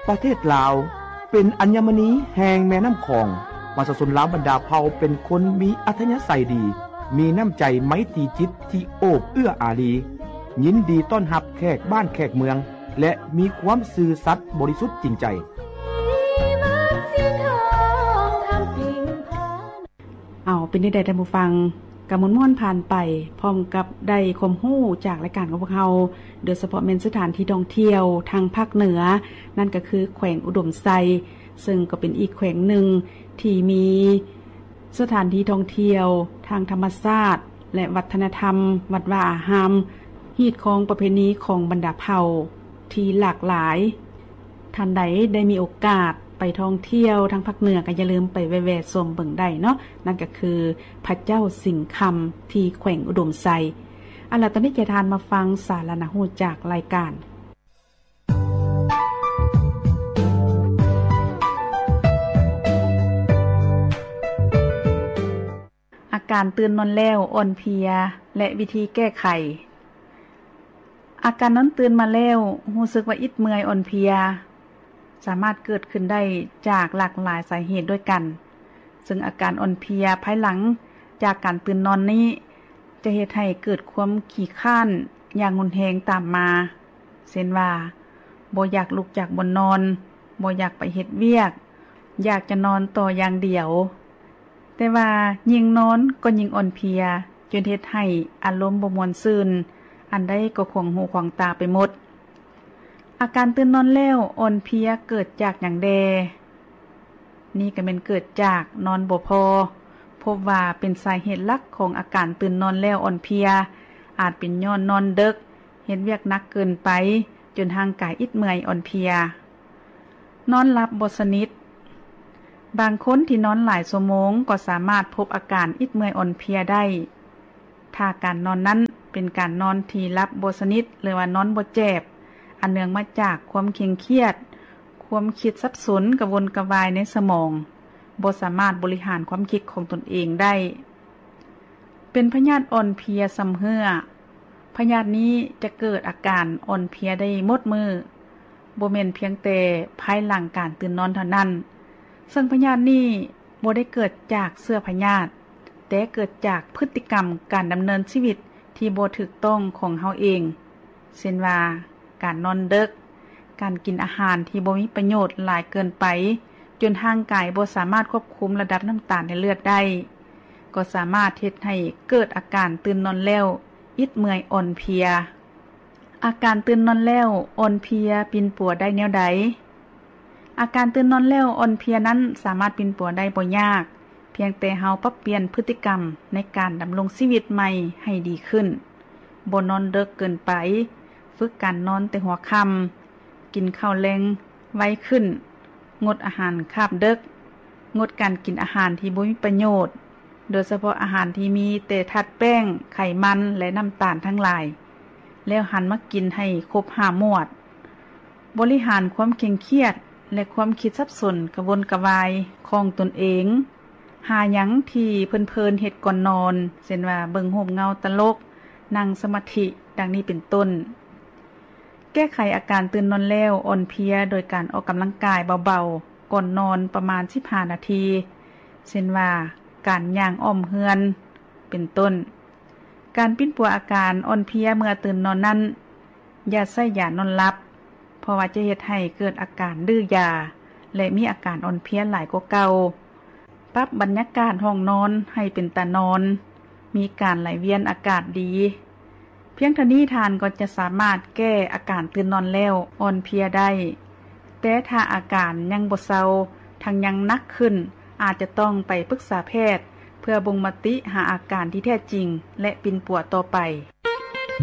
ປະເທດລາວ ເປັນອັນຍະມະນີແຫ່ງແມ່ນ້ຳຂອງ. ປະຊາຊົນລາວບັນດາເຜົ່າເປັນຄົນມີອັດທະຍາໄສດີ, ມີນ້ຳໃຈໄມຕີຈິດທີ່ໂອບເອື້ອອາຣີ, ຍິນດີຕ້ອນຮັບແຂກບ້ານແຂກເມືອງ ແລະ ມີຄວາມຊື່ສັດບໍລິສຸດຈິງໃຈ. ເອົາ ເປັນແນວໃດທ່ານຜູ້ຟັງ? ກະມ່ວນໆຜ່ານໄປ ພ້ອມກັບໄດ້ຄວາມຮູ້ຈາກລາຍການຂອງພວກເຮົາ, ໂດຍສະເພາະແມ່ນສະຖານທີ່ທ່ອງທ່ຽວທາງພາກເໜືອ, ນັ້ນກໍຄືແຂວງອຸດົມໄຊ, ເຊິ່ງກໍເປັນອີກແຂວງໜຶ່ງທີ່ມີສະຖານທີ່ທ່ອງທ່ຽວທາງທຳມະຊາດ ແລະ ວັດທະນະທຳ, ວັດວາອາຮາມ, ຮີດຄອງປະເພນີຂອງບັນດາເຜົ່າທີ່ຫຼາກຫຼາຍ. ທ່ານໃດໄດ້ມີໂອກາດໄປທ່ອງທ່ຽວທາງພາກເໜືອ ກໍຢ່າລືມໄປແວ່ໆຊົມເບິ່ງໄດ້ເນາະ, ນັ້ນກໍຄືພະເຈົ້າສິງຄຳທີ່ແຂວງອຸດົມໄຊ. ເອົາລະ ຕອນນີ້ຈະພາທ່ານມາຟັງສາລະໜ້າຮູ້ຈາກລາຍການ. ອາການຕື່ນນອນແລ້ວອ່ອນເພຍ ແລະ ວິທີແກ້ໄຂ. ອາການນອນຕື່ນມາແລ້ວຮູ້ສຶກວ່າອິດເມື່ອຍອ່ອນເພຍ ສາມາດເກີດຂຶ້ນໄດ້ຈາກຫຼາກຫຼາຍສາເຫດດ້ວຍກັນ, ເຊິ່ງອາການອ່ອນເພຍພາຍຫຼັງຈາກການຕື່ນນອນນີ້ ຈະເຮັດໃຫ້ເກີດຄວາມຂີ້ຄ້ານຢ່າງຮຸນແຮງຕາມມາ, ເຊັ່ນວ່າ ບໍ່ຢາກລຸກຈາກບ່ອນນອນ, ບໍ່ຢາກໄປເຮັດວຽກ, ຢາກຈະນອນຕໍ່ຢ່າງດຽວ. ແຕ່ວ່າຍິ່ງນອນກໍຍິ່ງອ່ອນເພຍ, ຈົນເຮັດໃຫ້ອາລົມບໍ່ມ່ວນຊື່ນ, ອັນໃດກໍຂວາງຫູຂວາງຕາໄປໝົດ. ອາການຕື່ນນອນແລ້ວອ່ອນເພຍເກີດຈາກຫຍັງແດ່? ນີ້ກໍແມ່ນເກີດຈາກນອນບໍ່ພໍ. ພົບວ່າເປັນສາເຫດຫຼັກຂອງອາການຕື່ນນອນແລ້ວອ່ອນເພຍ, ອາດເປັນຍ້ອນນອນເດິກ, ເຮັດວຽກໜັກເກີນໄປ, ຈົນຮ່າງກາຍອິດເມື່ອຍອ່ອນເພຍ. ນອນຫຼັບບໍ່ສະໜິດ. ບາງຄົນທີ່ນອນຫຼາຍຊົ່ວໂມງກໍສາມາດພົບອາການອິດເມື່ອຍອ່ອນເພຍໄດ້, ຖ້າການນອນນັ້ນເປັນການນອນທີ່ຫຼັບບໍ່ສະໜິດ ຫຼືວ່ານອນບໍ່ແຈບ, ອັນເນື່ອງມາຈາກຄວາມເຄັ່ງຄຽດ, ຄວາມຄິດສັບສົນກະວົນກະວາຍໃນສະໝອງ, ບໍ່ສາມາດບໍລິຫານຄວາມຄິດຂອງຕົນເອງໄດ້. ເປັນພະຍາດອ່ອນເພຍຊຳເຮື້ອ. ພະຍາດນີ້ຈະເກີດອາການອ່ອນເພຍໄດ້ໝົດມື້, ບໍ່ແມ່ນພຽງແຕ່ພາຍຫຼັງການຕື່ນນອນເທົ່ານັ້ນ, ເຊິ່ງພະຍາດນີ້ບໍ່ໄດ້ເກີດຈາກເຊື້ອພະຍາດ, ແຕ່ເກີດຈາກພຶດຕິກຳການດຳເນີນຊີວິດທີ່ບໍ່ຖືກຕ້ອງຂອງເຮົາເອງ, ເຊັ່ນວ່າ ການນອນເດິກ, ການກິນອາຫານທີ່ບໍ່ມີປະໂຫຍດຫຼາຍເກີນໄປ, ຈົນຮ່າງກາຍບໍ່ສາມາດຄວບຄຸມລະດັບນ້ຳຕານໃນເລືອດໄດ້, ກໍສາມາດເຮັດໃຫ້ເກີດອາການຕື່ນນອນແລ້ວອິດເມື່ອຍອ່ອນເພຍ. ອາການຕື່ນນອນແລ້ວອ່ອນເພຍປິ່ນປົວໄດ້ແນວໃດ? ອາການຕື່ນນອນແລ້ວອ່ອນເພຍນັ້ນສາມາດປິ່ນປົວໄດ້ບໍ່ຍາກ, ພຽງແຕ່ເຮົາປັບປ່ຽນພຶດຕິກຳໃນການດຳລົງຊີວິດໃໝ່ໃຫ້ດີຂຶ້ນ, ບໍ່ນອນເດິກເກີນໄປ, ຝຶກການນອນແຕ່ຫົວຄ່ຳ, ກິນເຂົ້າແລງໄວຂຶ້ນ, ງົດອາຫານຄາບເດິກ, ງົດການກິນອາຫານທີ່ບໍ່ມີປະໂຫຍດ, ໂດຍສະເພາະອາຫານທີ່ມີແຕ່ທາດແປ້ງ, ໄຂມັນ ແລະ ນ້ຳຕານທັງຫຼາຍ, ແລ້ວຫັນມາກິນໃຫ້ຄົບຫ້າໝວດ. ບໍລິຫານຄວາມເຄັ່ງຄຽດ ແລະ ຄວາມຄິດສັບສົນກະວົນກະວາຍຂອງຕົນເອງ, ຫາຫຍັງທີ່ເພີນໆເຮັດກ່ອນນອນ, ເຊັ່ນວ່າ ເບິ່ງຮູບເງົາຕະຫຼົກ, ນັ່ງສະມາທິ ດັ່ງນີ້ເປັນຕົ້ນ. ແກ້ໄຂອາການຕື່ນນອນແລ້ວອ່ອນເພຍໂດຍການອອກກຳລັງກາຍເບົາໆກ່ອນນອນປະມານສິບຫ້ານາທີ, ເຊັ່ນວ່າ ການຍ່າງອ້ອມເຮືອນ ເປັນຕົ້ນ. ການປິ່ນປົວອາການອ່ອນເພຍເມື່ອຕື່ນນອນນັ້ນ, ຢ່າໃຊ້ຢານອນຫຼັບ, ເພາະວ່າຈະເຮັດໃຫ້ເກີດອາການດື້ຢາ ແລະ ມີອາການອ່ອນເພຍຫຼາຍກວ່າເກົ່າ. ປັບບັນຍາກາດຫ້ອງນອນໃຫ້ເປັນຕານອນ, ມີການໄຫຼວຽນອາກາດດີ. ພຽງເທົ່ານີ້ທ່ານກໍຈະສາມາດແກ້ອາການຕື່ນນອນແລ້ວອ່ອນເພຍໄດ້. ແຕ່ຖ້າອາການຍັງບໍ່ເຊົາ, ທັງຍັງໜັກຂຶ້ນ, ອາດຈະຕ້ອງໄປປຶກສາແພດ ເພື່ອບົ່ງມະຕິຫາອາການທີ່ແທ້ຈິງ ແລະ ປິ່ນປົວຕໍ່ໄປ.